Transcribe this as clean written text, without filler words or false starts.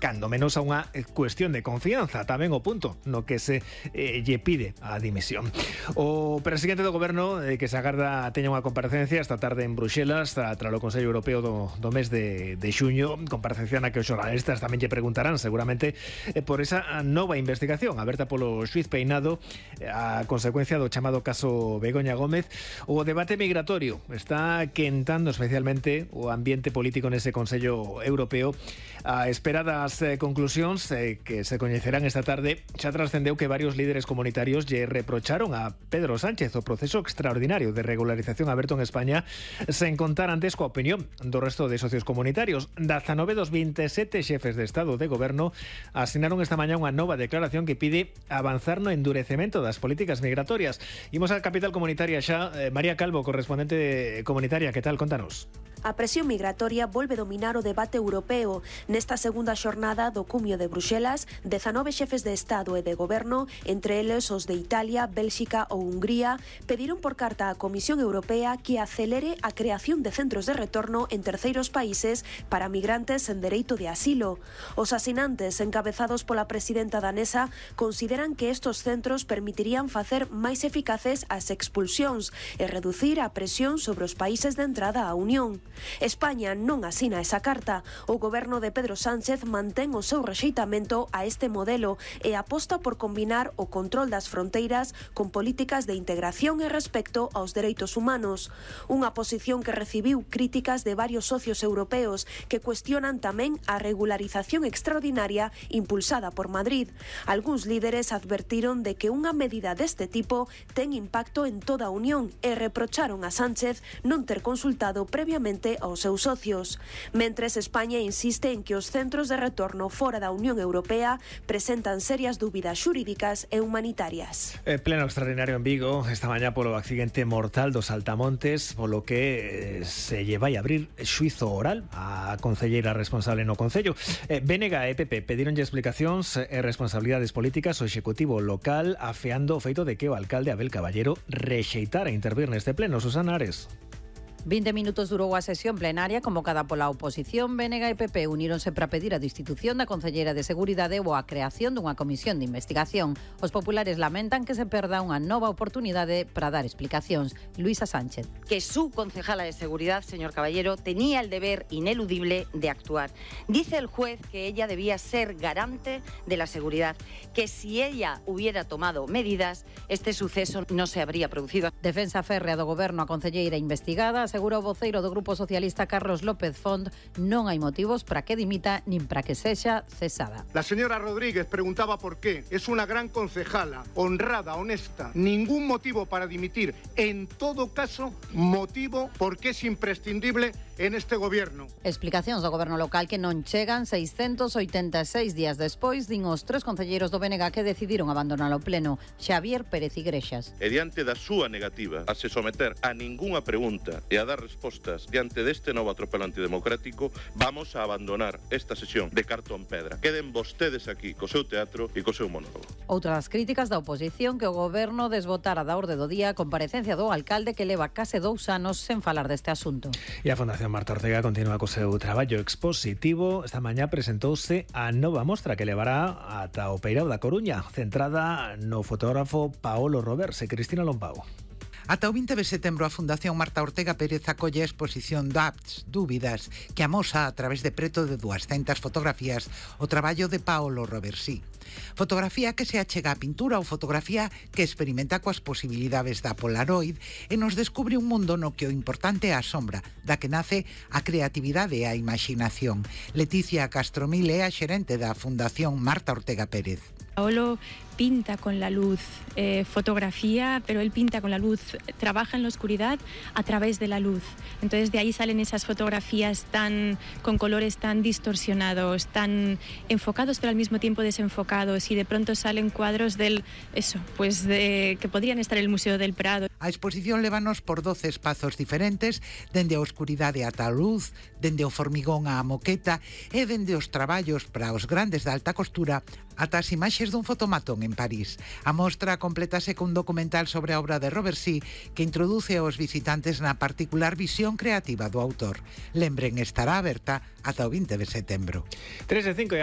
cando menos a unha cuestión de confianza, tamén o punto no que se lle pide a dimisión. O presidente do goberno que se agarda teña unha comparecencia esta tarde en Bruxelas tras o Consello Europeo do mes de xuño, comparecencia na que os xornalistas tamén lle preguntarán seguramente por esa nova investigación aberta polo xuiz Peinado a consecuencia do chamado caso Begoña Gómez. O debate migratorio está quentando especialmente o ambiente político nese Consello Europeo a espera das conclusións que se coñecerán esta tarde. Xa trascendeu que varios líderes comunitarios lle reprocharon a Pedro Sánchez o proceso extraordinario de regularización aberto en España sen contar antes coa opinión do resto de socios comunitarios. 19 dos 27 xefes de Estado de Goberno asinaron esta mañá unha nova declaración que pide avanzar no endurecemento das políticas migratorias. Imos á capital comunitaria xa. María Calvo, correspondente comunitaria, que tal? Contanos. A presión migratoria volve dominar o debate europeo. Nesta segunda xornada do cumio de Bruxelas, 19 xefes de Estado e de Goberno, entre eles os de Italia, Bélxica ou Hungría, pediron por carta á Comisión Europea que acelere a creación de centros de retorno en terceiros países para migrantes en dereito de asilo. Os asinantes, encabezados pola presidenta danesa, consideran que estos centros permitirían facer máis eficaces as expulsións e reducir a presión sobre os países de entrada á Unión. España non asina esa carta. O goberno de Pedro Sánchez mantén o seu rexeitamento a este modelo e aposta por combinar o control das fronteiras con políticas de integración e respecto aos dereitos humanos. Unha posición que recibiu críticas de varios socios europeos que cuestionan tamén a regularización extraordinaria impulsada por Madrid. Algúns líderes advertiron de que unha medida deste tipo ten impacto en toda a Unión e reprocharon a Sánchez non ter consultado previamente aos seus socios. Mentres, España insiste en que os centros de retorno fora da Unión Europea presentan serias dúbidas xurídicas e humanitarias. Pleno extraordinario en Vigo esta mañá polo accidente mortal dos Altamontes, polo que se lle vai abrir xuízo oral á concelleira responsable no Concello. BNG e PP pedíronlle explicacións e responsabilidades políticas ao Executivo local, afeando o feito de que o alcalde Abel Caballero rexeitara intervir neste pleno. Susana Ares. 20 minutos durou a sesión plenaria convocada pola oposición. BNG e PP uníronse para pedir a destitución da concelleira de Seguridade ou a creación dunha comisión de investigación. Os populares lamentan que se perda unha nova oportunidade para dar explicacións. Luisa Sánchez. Que su concejala de Seguridad, señor Caballero, tenía el deber ineludible de actuar. Dice el juez que ella debía ser garante de la seguridad, que si ella hubiera tomado medidas, este suceso no se habría producido. Defensa férrea do goberno a concelleira investigada. Asegura o voceiro do Grupo Socialista Carlos López Font, non hai motivos para que dimita nin para que sexa cesada. La señora Rodríguez preguntaba por qué. Es una gran concejala, honrada, honesta. Ningún motivo para dimitir. En todo caso, motivo porque es imprescindible en este gobierno. Explicacións do goberno local que non chegan 686 días despois, din os tres concelleiros do BNG que decidiron abandonar o pleno. Xavier Pérez Igrexas. E diante da súa negativa a se someter a ningunha pregunta e a dar respostas diante deste novo atropelo antidemocrático, vamos a abandonar esta sesión de cartón pedra. Queden vostedes aquí co seu teatro e co seu monólogo. Outras críticas da oposición que o goberno desbotara da orde do día a comparecencia do alcalde que leva case 2 anos sen falar deste asunto. E a Fundación Marta Ortega continúa co seu traballo expositivo. Esta mañá presentouse a nova mostra que levará ata o Peirao da Coruña, centrada no fotógrafo Paolo Roverse. Cristina Lompau. Ata o 20 de setembro a Fundación Marta Ortega Pérez acolle a exposición Doubts, Dúbidas, que amosa a través de preto de 200 fotografías o traballo de Paolo Roversi. Fotografía que se achega á pintura ou fotografía que experimenta coas posibilidades da Polaroid e nos descubre un mundo no que o importante é a sombra, da que nace a creatividade e a imaginación. Leticia Castromil é a xerente da Fundación Marta Ortega Pérez. Paolo pinta con la luz, fotografía, pero él pinta con la luz, trabaja en la oscuridad a través de la luz. Entonces de ahí salen esas fotografías con colores tan distorsionados, tan enfocados pero al mismo tiempo desenfocados, y de pronto salen cuadros que podrían estar en el Museo del Prado. A exposición lévanos por 12 espazos diferentes, dende a oscuridade ata a luz, dende o formigón á moqueta e dende os traballos para os grandes da alta costura ata as imaxes dun fotomatón en París. A mostra completase cun documental sobre a obra de Roversi que introduce aos visitantes na particular visión creativa do autor. Lembren, estará aberta ata o 20 de setembro. 3 e 5